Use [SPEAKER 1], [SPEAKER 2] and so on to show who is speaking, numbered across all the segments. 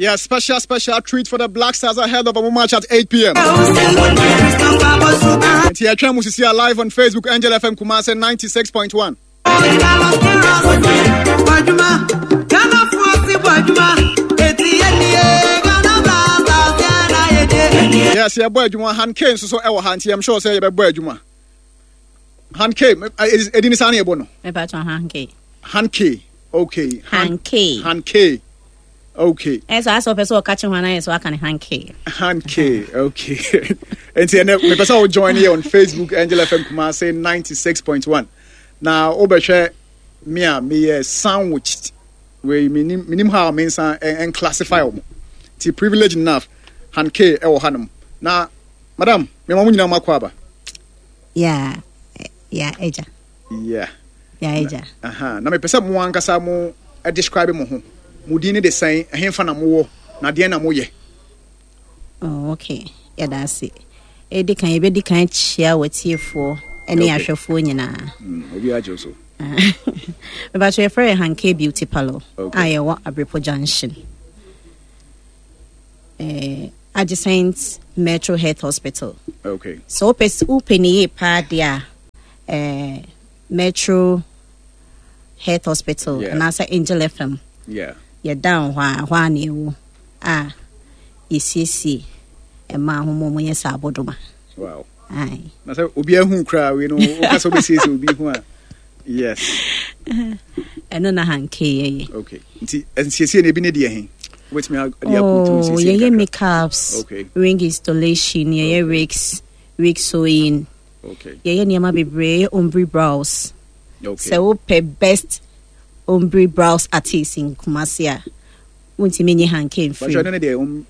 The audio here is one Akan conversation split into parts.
[SPEAKER 1] Yeah, special, special treat for the Black Stars ahead of a match at 8 p.m. Nti yɛtwɛn mu sisi a live on Facebook Angel FM Kumasi 96.1. Yes, yɛbɔ adwuma Han K nso so ɛwɔ ha nti I'm sure sɛ yɛbɛbɔ adwuma. Han K, ɛdi ne saa na yɛbɔ no.
[SPEAKER 2] Mepatɔ Han K.
[SPEAKER 1] Han K, okay.
[SPEAKER 2] Han K.
[SPEAKER 1] Han K. Okay.
[SPEAKER 2] Ɛsɛ asɛ ɔpɛ sɛ ɔka kye ho anaa yɛ sɛ waka ne Han K.
[SPEAKER 1] Han K, okay. Nti ɛnɛ mepɛ sɛ wo join yɛ on Facebook Angel FM Kumasi 96.1. Na wobɛhwɛ me a meyɛ sandwiched. Wei menim menim how me nsa and classify wɔn. Ti privilege enough Han K ɛwɔ hanom. Na madam, mema mo nyinaa mo akɔ aba.
[SPEAKER 2] Yeah, yeah, ɛgya.
[SPEAKER 1] Yeah.
[SPEAKER 2] Yeah, ɛgya.
[SPEAKER 1] Aha, na mepɛ sɛ mo ankasa mo describe mo ho. Mo din ne de sɛn, ɛhefa na mowɔ, na deɛn na moyɛ?
[SPEAKER 2] Oh, okay. Yɛda ase. Ɛdi kan, yɛbɛdi kan kyia w'atiefoɔ ne okay. ahwɛfoɔ nyinaa.
[SPEAKER 1] Mm, obi agye so.
[SPEAKER 2] Mebakyɛ yɛfrɛ yɛ Hanke Beauty Parlor okay. a yɛwɔ Abrepɔ Junction. Eh, adjacent Metro Health Hospital.
[SPEAKER 1] Okay.
[SPEAKER 2] So wopɛ wopɛ ne yie paa deɛ a eh, Metro Health Hospital yeah. anaasɛ Angel FM.
[SPEAKER 1] Yeah.
[SPEAKER 2] Yɛda hɔ a hɔ a na ɛwɔ a yɛsiesie mmaa ho ma wɔyɛ saa abɔdoma.
[SPEAKER 1] Wow. Aye. Na sɛ obi ahu koraa wei no woka sɛ wobɛsiesie obi ho a yes.
[SPEAKER 2] Ɛno na hankee yɛyɛ.
[SPEAKER 1] Okay. Nti nsiesie no ebi ne deɛ he? Wobɛtumi de akɔtu
[SPEAKER 2] oh,
[SPEAKER 1] nsiesie
[SPEAKER 2] yɛyɛ makeups, okay. ring installation, yɛyɛ okay. wigs, wig sewing.
[SPEAKER 1] Okay.
[SPEAKER 2] Yɛyɛ nneɛma bebree, yɛyɛ ombre brows.
[SPEAKER 1] Okay.
[SPEAKER 2] Sɛ wopɛ best ombre brows artist in Kumasi a, wontumi nye hanke mfiri.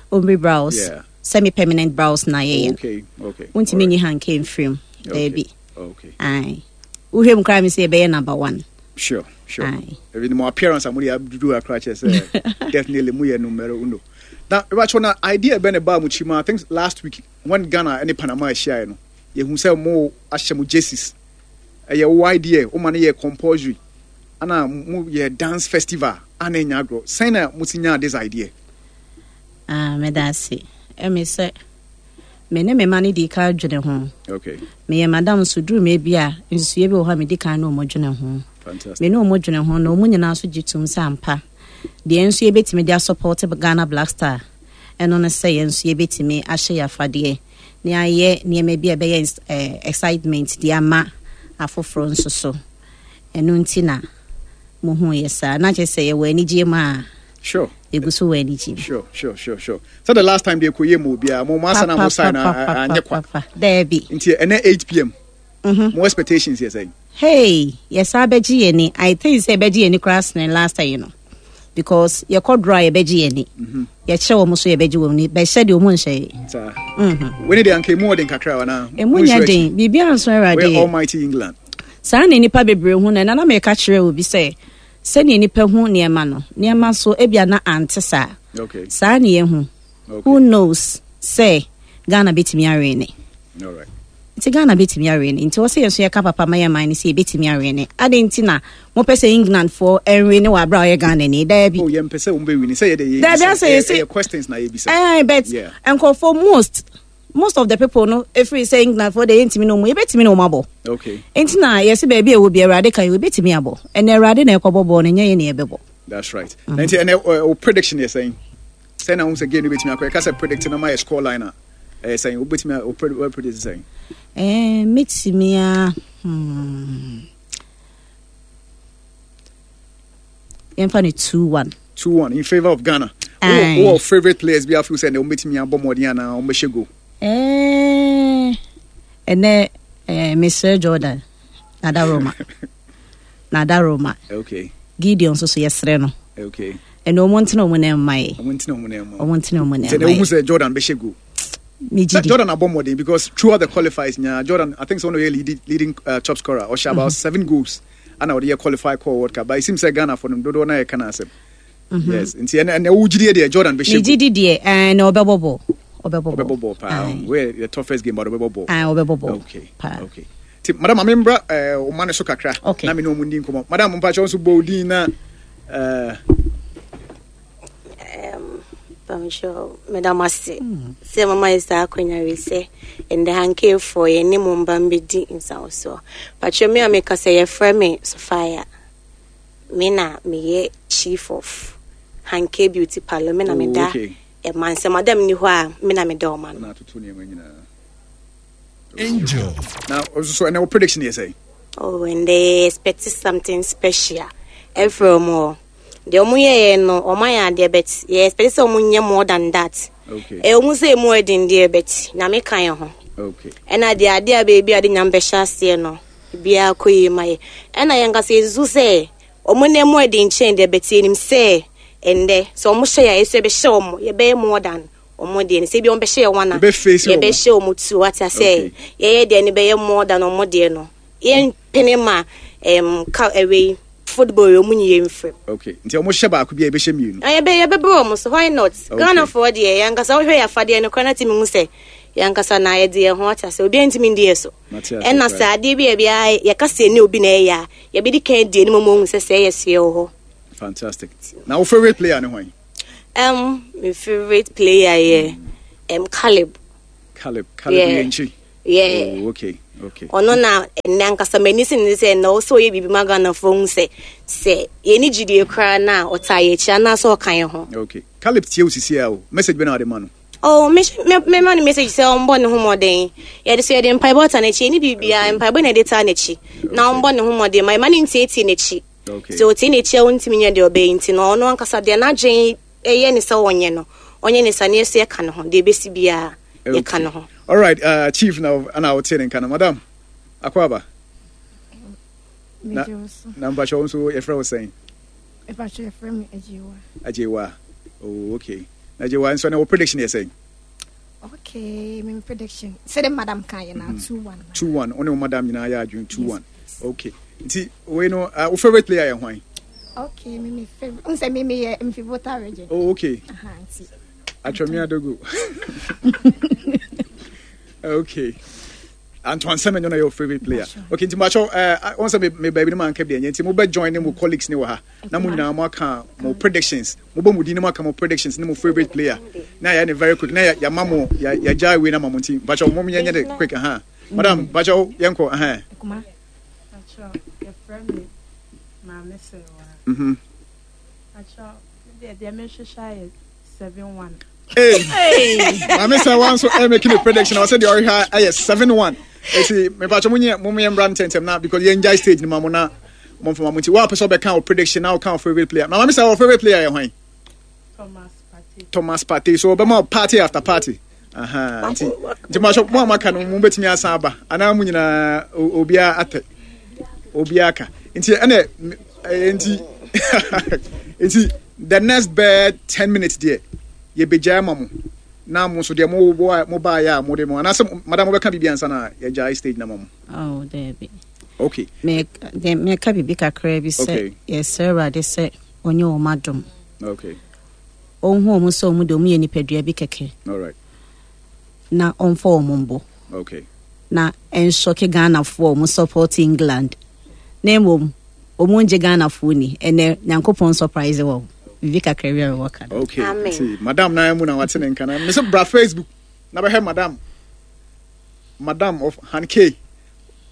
[SPEAKER 2] Ombre brows.
[SPEAKER 1] Yeah.
[SPEAKER 2] Semi permanent brows na yɛyɛ.
[SPEAKER 1] Okay, okay.
[SPEAKER 2] Wontumi nye hanke mfiri mu. Daabi.
[SPEAKER 1] Okay.
[SPEAKER 2] Aye. Wohwɛ mu koraa mi sɛ yɛbɛyɛ number one.
[SPEAKER 1] Sure, sure. Aye. Even mo appearance a mo de adudu akra kyerɛ sɛ definitely mo yɛ numero uno. Na ebakyɛ na idea bɛ ne ba mo kyi ma I think last week when Ghana ne Panama ahyiae no yɛhu sɛ mo ahyɛ mo jerseys. Ɛyɛ wo idea, wo ma no yɛ compulsory. Ana mo yɛ dance festival ana nya agorɔ. Sɛn na mo si nyaa this idea?
[SPEAKER 2] Ah, meda ase. Ɛmi sɛ me ne me ma no di kan dwene ho.
[SPEAKER 1] Okay.
[SPEAKER 2] Meyɛ madam nso duru me bi a nsusuiɛ bi wɔ hɔ a medi kan ne wɔn dwene ho.
[SPEAKER 1] Fantastic.
[SPEAKER 2] Me ne wɔn dwene ho na wɔn nyinaa nso gye tom sɛ ampa deɛ nso yɛbɛtumi de asɔpɔte Ghana Black Star ɛno ne sɛ yɛn nso yɛbɛtumi ahyɛ yɛn afadeɛ na yɛayɛ nneɛma bi a ɛbɛyɛ eh, excitement de ama afoforɔ nso so. Ɛno nti na muhu yɛ saa. Na kyerɛ sɛ yɛwɔ anigyeɛ mu a.
[SPEAKER 1] Sure.
[SPEAKER 2] Yɛgu so wɔ anigyeɛ mu.
[SPEAKER 1] Sure, sure, sure, sure. So the last time they kɔ yɛ mu obiara, mo mo asa na mo sign na anyɛ kwa.
[SPEAKER 2] Daabi.
[SPEAKER 1] Nti ɛnɛ 8 pm. Mm-hmm. Mo expectations yɛ sɛn?
[SPEAKER 2] Hey, yɛsa bɛgye yɛn ni. I think sɛ yɛbɛgye yɛn ni koraa sene last time no. Because yɛkɔ draw a yɛbɛgye yɛn ni. Mm-hmm. Yɛkyerɛ wɔn so yɛbɛgye wɔn ni. Bɛhyɛ deɛ wɔn nhyɛ yɛ.
[SPEAKER 1] Saa. Mm-hmm. Wei ne deɛ anka emu ɔden kakra wa na.
[SPEAKER 2] Emu nyɛ den. Biribi anso awurade.
[SPEAKER 1] We're almighty England.
[SPEAKER 2] Saa na nnipa bebree hu no. Ɛna na meka kyerɛ obi sɛ, sɛnea nnipa hu nneɛma no, nneɛma nso ebia na ante saa.
[SPEAKER 1] Okay.
[SPEAKER 2] Saa na yɛhu.
[SPEAKER 1] Okay.
[SPEAKER 2] Who knows sɛ Ghana betumi awene.
[SPEAKER 1] All right.
[SPEAKER 2] Nti Ghana betumi awene. Nti wɔ sɛ yɛn nso yɛka papa ma yɛn man no sɛ yɛbetumi awene. Adɛn nti na mopɛ sɛ England foɔ ɛnwene wɔ abere a ɔyɛ Ghana ni? Daabi.
[SPEAKER 1] Oh, yɛmpɛ sɛ wɔn bɛwini. Sɛ yɛde yɛ
[SPEAKER 2] Daabi asɛ yɛsɛ.
[SPEAKER 1] Ɛyɛ questions na yɛbisa.
[SPEAKER 2] Ɛɛ but
[SPEAKER 1] Yeah.
[SPEAKER 2] nkurɔfoɔ most of the people no efiri sɛ England foɔ de yɛntumi ne wɔn yɛbɛtumi ne wɔn abɔ.
[SPEAKER 1] Okay.
[SPEAKER 2] Nti na yɛsi baabi a ɛwɔ bi Awurade ka yɛ yɛbɛtumi abɔ. Ɛnna Awurade na ɛkɔbɔ bɔɔl no nyɛ yɛn na yɛbɛbɔ.
[SPEAKER 1] That's right. Mm-hmm. Nti ɛnɛ o prediction yɛ sɛn? Sɛn na wɔn sɛ game no bɛtumi akɔ? Yɛka sɛ predict na ma yɛ score line a ɛyɛ sɛn? Wobɛtumi o predict sɛn?
[SPEAKER 2] Ɛɛ mɛtumi a yɛmfa no 2-1.
[SPEAKER 1] 2-1 in favour of Ghana. Who favorite players bi afeel sɛ na wɔbɛtumi abɔ mmɔden anaa wɔbɛhyɛ goal?
[SPEAKER 2] Ɛnɛ mesrɛ Jordan Nada Roma. Nada Roma.
[SPEAKER 1] Okay.
[SPEAKER 2] Gideon nso so yɛsrɛ no.
[SPEAKER 1] Okay.
[SPEAKER 2] Ɛnna wɔn ntena wɔn nan mma yɛ.
[SPEAKER 1] Wɔn ntena wɔn nan mma.
[SPEAKER 2] Wɔn ntena wɔn nan mma yɛ.
[SPEAKER 1] Sɛ na wohu sɛ Jordan bɛhyɛ goal.
[SPEAKER 2] Megye di.
[SPEAKER 1] Jordan abɔ mmɔden because throughout the qualifiers nyinaa Jordan I think sɛ ɔno yɛ leading leading top scorer ɔhyɛ about 7 goals. Ana ɔde yɛ qualify kɔɔ World Cup but it seems sɛ Ghana fo no dodoɔ na yɛka no asɛm. Yes nti ɛnɛ ɛnɛ wo gyidie deɛ Jordan bɛhyɛ
[SPEAKER 2] goal. Megye di deɛ ɛɛ na ɔbɛbɔ bɔ ɔbɛbɔ bɔ.
[SPEAKER 1] Ɔbɛbɔ bɔ paa wei the toughest game but ɔbɛbɔ bɔ.
[SPEAKER 2] Ɛɛ ɔbɛbɔ bɔ.
[SPEAKER 1] Okay
[SPEAKER 2] paa.
[SPEAKER 1] Okay ti madam maame mbra ɛɛ ɔma ne so kakra.
[SPEAKER 2] Okay.
[SPEAKER 1] Na me ne ɔmo ndi nkɔmɔ madam mpakyɛw nso bɔ odin na ɛɛ.
[SPEAKER 3] Pamkyɛw, meda mo ase sɛ mama yɛ saa akwanya wei sɛ ndɛ Hankeefoɔ yɛne mo mba mbɛdi nsawosoɔ. Pakyɛw, me a meka sɛ yɛfrɛ me Sophia. Me na meyɛ chief of Hankey Beauty Parlour. Me na meda ɛma nsɛ madam ni hɔ a me na meda ɔma no.
[SPEAKER 1] Angel. Na so ɛnɛ wo prediction yɛ sɛn?
[SPEAKER 3] Oh, and they expect something special. Ɛfrɛ ɔmo hɔ. Deɛ ɔmo yɛɛ no, ɔmo ayɛ adeɛ but yɛ expect sɛ ɔmo nyɛ more than that.
[SPEAKER 1] Okay.
[SPEAKER 3] Ɛwɔ mu sɛ emu ɛden deɛ but Nyame ka yɛn ho.
[SPEAKER 1] Okay.
[SPEAKER 3] Ɛna deɛ adeɛ a baabi a de Nyame bɛhyɛ aseɛ no, biara kɔ yie ma yɛ. Ɛna yɛn kasa yɛsusu sɛ ɔmo na emu ɛden kyɛn deɛ but yɛnim sɛ ɛndɛ sɛ ɔmo hyɛ yɛ a yɛsɛ yɛbɛhyɛ ɔmo, yɛbɛyɛ more than ɔmo deɛ no. Sɛ ebi ɔmo bɛhyɛ yɛ one a, yɛbɛhyɛ ɔmo two. Wate asɛ yɛyɛ deɛ no bɛyɛ more than ɔmo deɛ no. Yɛn pene ma ka ɛwei football yɛ ɔmo nyi yɛn mfiri.
[SPEAKER 1] Okay, nti ɔmo hyɛ baako bi a yɛbɛhyɛ mmienu.
[SPEAKER 3] Na yɛbɛ yɛbɛbrɛ ɔmo so, why not?
[SPEAKER 1] Okay.
[SPEAKER 3] Ghana foɔ deɛ yɛn ankasa wohwɛ yɛ afadeɛ no koraa na timi hu sɛ yɛn ankasa na yɛde yɛn ho ate asɛ obiara ntumi ndi yɛ so.
[SPEAKER 1] Mate ase
[SPEAKER 3] Ɛna
[SPEAKER 1] koraa.
[SPEAKER 3] sɛ adeɛ bi a yɛbia yɛka sɛ ɛne obi na ɛyɛ a yɛbɛdi kan di anim ama ɔhu sɛ sɛ ɛyɛ so yɛwɔ hɔ.
[SPEAKER 1] Fantastic. Na wo favorite player ne hwan?
[SPEAKER 3] My favorite player yɛ Caleb.
[SPEAKER 1] Caleb, Caleb
[SPEAKER 3] Yeah.
[SPEAKER 1] Yenkyi.
[SPEAKER 3] Yeah.
[SPEAKER 1] Oh, okay, okay.
[SPEAKER 3] Ɔno na ɛnɛ ankasa m'ani si ne sɛ na ɔsɛ ɔyɛ biribi ma Ghanafoɔ hu sɛ sɛ yɛni gyidie koraa na ɔtaa yɛ akyi anaasɛ ɔka yɛn ho.
[SPEAKER 1] Okay. Caleb tie wo sisi a o. Message bɛ na ɔde ma no.
[SPEAKER 3] Oh, me me me ma no message sɛ ɔmbɔ ne ho mmɔden. Yɛde so yɛde mpaebɔ taa n'akyi, ɛni biribiara mpaebɔ na yɛde taa n'akyi. Na ɔmbɔ ne ho mmɔden ma ɛma ne ntietie n'akyi.
[SPEAKER 1] Okay.
[SPEAKER 3] Sɛ ɔtie n'akyi a ɔntumi nyɛ deɛ ɔbɛyɛ nti no ɔno ankasa deɛ n'adwen ɛyɛ ne sɛ ɔnyɛ no, ɔnyɛ ne sa ne yɛso yɛka ne ho, deɛ ɛbɛsi biara yɛka ne ho.
[SPEAKER 1] All right, chief na ana wote ne nka no. Madam, akwaaba. Na na mpakyɛ wo nso yɛfrɛ wo sɛn?
[SPEAKER 4] Mpakyɛ yɛfrɛ me Agyewa.
[SPEAKER 1] Agyewa. Oh, okay. Na Agyewa nso ne wo prediction yɛ sɛn?
[SPEAKER 4] Okay, me prediction. Sɛ de madam kan yɛ na 2-1.
[SPEAKER 1] 2-1. Wo ne wo madam nyinaa yɛ adwene 2-1. Okay. Nti wei no wo favorite player yɛ hwan?
[SPEAKER 4] Okay, me favorite. Unse me me yɛ mfi Volta region.
[SPEAKER 1] Oh, okay.
[SPEAKER 4] Aha, nti.
[SPEAKER 1] Atwami adogo. Okay. Antoine Semenyo na your favorite player. Okay, nti macho eh on say me me baby no man ka bi enye nti mo be join ne mo colleagues ne wɔ ha. Na mo nyinaa mo aka mo predictions. Mo bɔ mo din ne mo aka mo predictions ne mo favorite player. Na ya ne very quick. Na ya ya ma mo ya ya gya we na ma mo nti macho mo nye nye de quick aha. Madam, macho yɛnkɔ aha.
[SPEAKER 5] Macho, yɛfrɛ me Maame Serwa. Macho, me deɛ mehwehwɛ ayɛ 7-1.
[SPEAKER 1] Hey. Maame Serwa nso ɛ making a prediction. Ɔsɛ deɛ ɔhwehwɛ ayɛ 7-1. Eti mepacho mo nyɛ mo yɛ mbra ntɛntɛm na because yɛn gya stage ni ma mo na mo nfama mo nti wo a pɛ sɛ ɔbɛka wo prediction na ɔka wo favorite player. Na Maame Serwa wo favorite player yɛ hwan?
[SPEAKER 5] Thomas Partey.
[SPEAKER 1] Thomas Partey. So ɔbɛma wo party after party. Aha, nti nti mo ahyɛ mo a maka no mo betumi asan aba anaa mo nyinaa obiara atɛ obiara ka nti ɛnɛ nti nti the next bɛɛ 10 minutes deɛ yɛbɛgyae ma mo na mo nso deɛ mo mo baayɛ a mo de mo anaasɛ madam mobɛka biribi ansa na yɛgyae stage na ma mo.
[SPEAKER 2] Oh, daabi.
[SPEAKER 1] Okay.
[SPEAKER 2] Me meka biribi kakra bi sɛ yɛsrɛ Awurade sɛ ɔnyɛ wɔn adom.
[SPEAKER 1] Okay.
[SPEAKER 2] Ɔnhu wɔn sɛ wɔn de wɔn yɛ nipadua bi kɛkɛ.
[SPEAKER 1] All right.
[SPEAKER 2] Na ɔmfa wɔn mbɔ.
[SPEAKER 1] Okay.
[SPEAKER 2] Na ɛnsɔke Ghanafoɔ a wɔn support England. Na mmom wɔn ngye Ghanafoɔ ni. Ɛnɛ Nyankopɔn surprise wɔn. Biribi kakra bi a mewɔ ka no.
[SPEAKER 1] Okay.
[SPEAKER 3] Amen.
[SPEAKER 1] Nti madam na mu na wate ne nka na. Mese bra Facebook na bɛhwɛ madam. Madam of Hankey.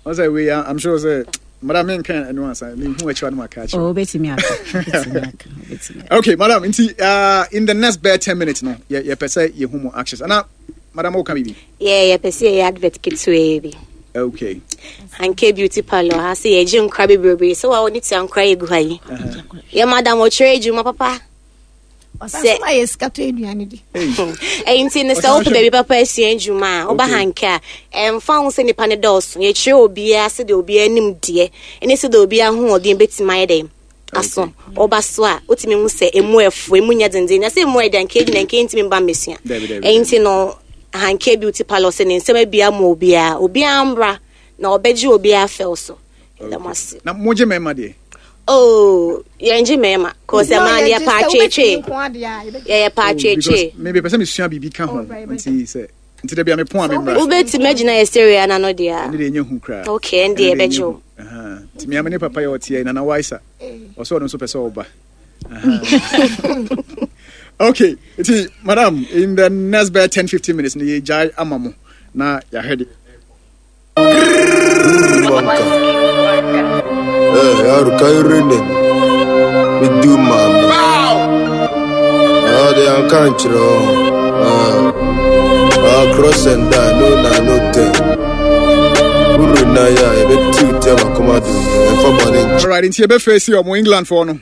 [SPEAKER 1] Ɔsɛ wei I'm sure sɛ madam menka ɛno ansa mehu akyiwa no maka akyerɛ.
[SPEAKER 2] Oh, wobɛtumi aka. Wobɛtumi aka. Wobɛtumi aka.
[SPEAKER 1] Okay, madam, nti in the next bare 10 minutes no, yɛpɛ sɛ yɛhu mo actions. Ana madam woka biribi?
[SPEAKER 3] Yeah, yɛpɛ sɛ yɛyɛ advert ketewaa bi.
[SPEAKER 1] Okay.
[SPEAKER 3] Hankey Beauty Parlour ha sɛ yɛgye nkora bebrebe sɛ wa wɔne tia nkora yɛgu ha yi. Yɛ madam ɔkyerɛ adwuma papa.
[SPEAKER 4] Ɔsan so ma yɛ sika tɔ aduane di.
[SPEAKER 3] Ɛyi nti no sɛ wopɛ baabi papa asua adwuma a woba Hankey a ɛmfa ho sɛ nipa no dɔɔso yɛkyerɛ obiara sɛdeɛ obiara anim deɛ ɛne sɛdeɛ obiara ahoɔden bɛtumi ayɛ dɛn aso ɔba so a wotumi hu sɛ emu ɛfo emu nyɛ denden na sɛ emu ɛda nka gyina nka ntumi mba mmesua. Ɛyi nti no Hankey Beauty Parlour sɛ ne nsɛm abia ma obiara obiara mbra na ɔbɛgye obiara fɛw so. Ɛda mo ase.
[SPEAKER 1] Na mogye mmarima deɛ?
[SPEAKER 3] Oh, yɛngye mmarima. Kò sɛ maa no yɛ paa tweetwee. Yɛyɛ paa tweetwee.
[SPEAKER 1] Me bɛ sɛ mesua biribi ka ho nti sɛ nti da bia me pon a me mmra.
[SPEAKER 3] Wobɛtumi agyina yɛ stereo na no deɛ a.
[SPEAKER 1] Ɛne deɛ ɛnyɛ hu koraa.
[SPEAKER 3] Okay, ɛne deɛ ɛbɛgye wo.
[SPEAKER 1] Nti me ame ne papa yɛ ɔteɛ Nana Waisa. Ɔsɛ ɔno nso pɛ sɛ ɔba. Okay, nti madam, in the next bɛyɛ 10 15 minutes no yɛgyae ama mo na yɛahwɛ de.
[SPEAKER 6] Eh, yaro kai rene me do mami. Ah, they are can't Ah, ah, cross and die, no na no ten. Uru na ya, ebe tu tem akoma do. Efa bone.
[SPEAKER 1] Alright, nti yɛbɛfɛsi ɔmo England foɔ no.